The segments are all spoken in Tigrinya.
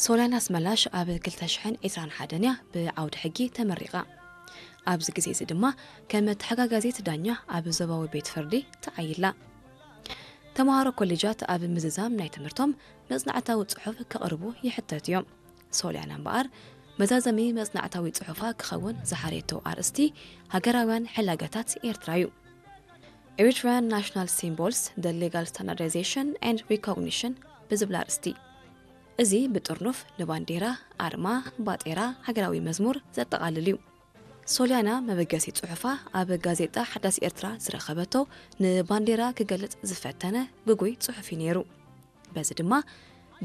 ሶልያና ኣስመላሽ ኣብ ክልተ ሽሕን ዕስራን ሓደን እያ ብዓውዲ ሕጊ ተመሪቓ። ኣብዚ ግዜ እዚ ድማ ከም ተሓጋጋዚት ዳኛ ኣብ ዞባዊ ቤት ፍርዲ ተዓይላ። ተምሃሮ ኮሌጃት ኣብ ምዝዛም ናይ ትምህርቶም መጽናዕታዊ ጽሑፍ ከቕርቡ ይሕተት እዮም። ሶልያና እምበኣር መዛዘሚ መጽናዕታዊ ጽሑፋ ክኸውን ዝሓረየቶ ኣርእስቲ ሃገራውያን ሕላገታት ኤርትራ እዩ። Eritrean National Symbols: The Legal Standardization and Recognition ብዝብል ኣርእስቲ። እዚ ብጥርኑፍ ንባንዴራ፣ ኣርማ፣ ባጤራ፣ ሃገራዊ መዝሙር ዘጠቓልል እዩ። ሶልያና መበገሲ ጽሑፋ ኣብ ጋዜጣ ሓዳስ ኤርትራ ዝረኸበቶ ንባንዴራ ክገልጽ ዝፈተነ ግጉይ ጽሑፍ እዩ ነይሩ። በዚ ድማ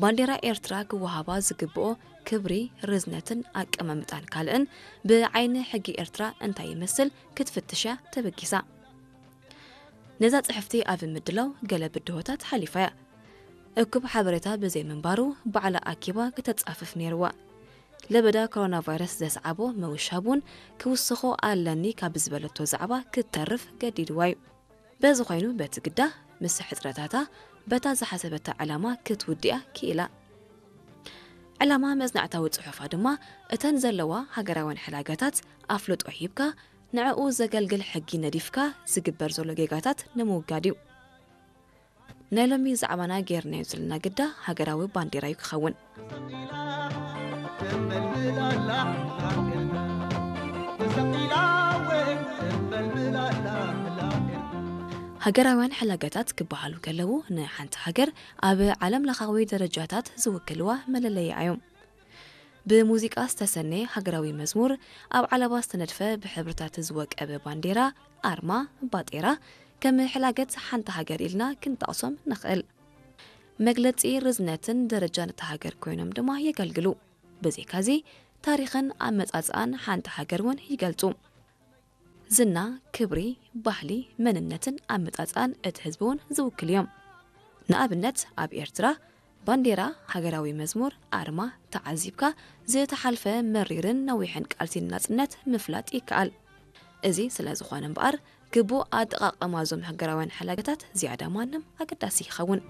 ባንዴራ ኤርትራ ክወሃባ ዝግብኦ ክብሪ፣ ርዝነትን ኣቀማምጣን ካልእን ብዓይኒ ሕጊ ኤርትራ እንታይ ይመስል ክትፍትሽ እያ ተበጊሳ። ነዛ ጽሕፍቲ ኣብ ምድላው ገለ ብድሆታት ሓሊፋ እያ። እኩብ ሓበሬታ ብዘይምንባሩ ባዕላ ኣኪባ ከተጻፍፍ ነይርዋ። ለበዳ ኮሮና ቫይረስ ዘስዓቦ ምውሻብ እውን ክውስኾ ኣለኒ ካብ ዝበለቶ ዛዕባ ክትተርፍ ገዲድዋ እዩ። በዚ ኮይኑ በቲ ግዳ ምስ ሕጽረታታ በታ ዝሓሰበታ ዕላማ ክትውድያ ክኢላ። ዕላማ መጽናዕታዊ ጽሑፋ ድማ እተን ዘለዋ ሃገራውያን ሕላገታት ኣፍልጦ ሂብካ ንዕኡ ዘገልግል ሕጊ ነዲፍካ ዝግበር ዘሎ ጌጋታት ንምውጋድ እዩ። ናይ ሎሚ ዛዕባና ጌርናዮ ዘለና ግዳ ሃገራዊ ባንዴራ እዩ ክኸውን። ሃገራውያን ሕላገታት ክበሃሉ ከለዉ ንሓንቲ ሃገር ኣብ ዓለም ለኻዊ ደረጃታት ዝውክልዋ መለለይኣ እዮም። ብሙዚቃ ዝተሰነየ ሃገራዊ መዝሙር፣ ኣብ ዓለባ ዝተነድፈ ብሕብርታት ዝወቀበ ባንዴራ፣ ኣርማ፣ ባጤራ፣ ከም ሕላገት ሓንቲ ሃገር ኢልና ክንጠቕሶም ንኽእል። መግለጺ ርዝነትን ደረጃን እታ ሃገር ኮይኖም ድማ የገልግሉ። ብዘይካዚ ታሪኽን ኣመጻጽኣን ሓንቲ ሃገር እውን ይገልጹ። ዝና፣ ክብሪ፣ ባህሊ፣ መንነትን ኣመጻጽኣን እቲ ህዝቢ እውን ዝውክሉ እዮም። ንኣብነት ኣብ ኤርትራ ባንዴራ፣ ሃገራዊ መዝሙር፣ ኣርማ ተዓዚብካ ዝተሓልፈ መሪርን ነዊሕን ቃልሲ ንናጽነት ምፍላጥ ይከኣል። እዚ ስለ ዝኾነ እምበኣር ግቡእ ኣጠቓቕማ እዞም ሃገራውያን ሕላገታት ዝያዳ ማንም ኣገዳሲ ይኸውን።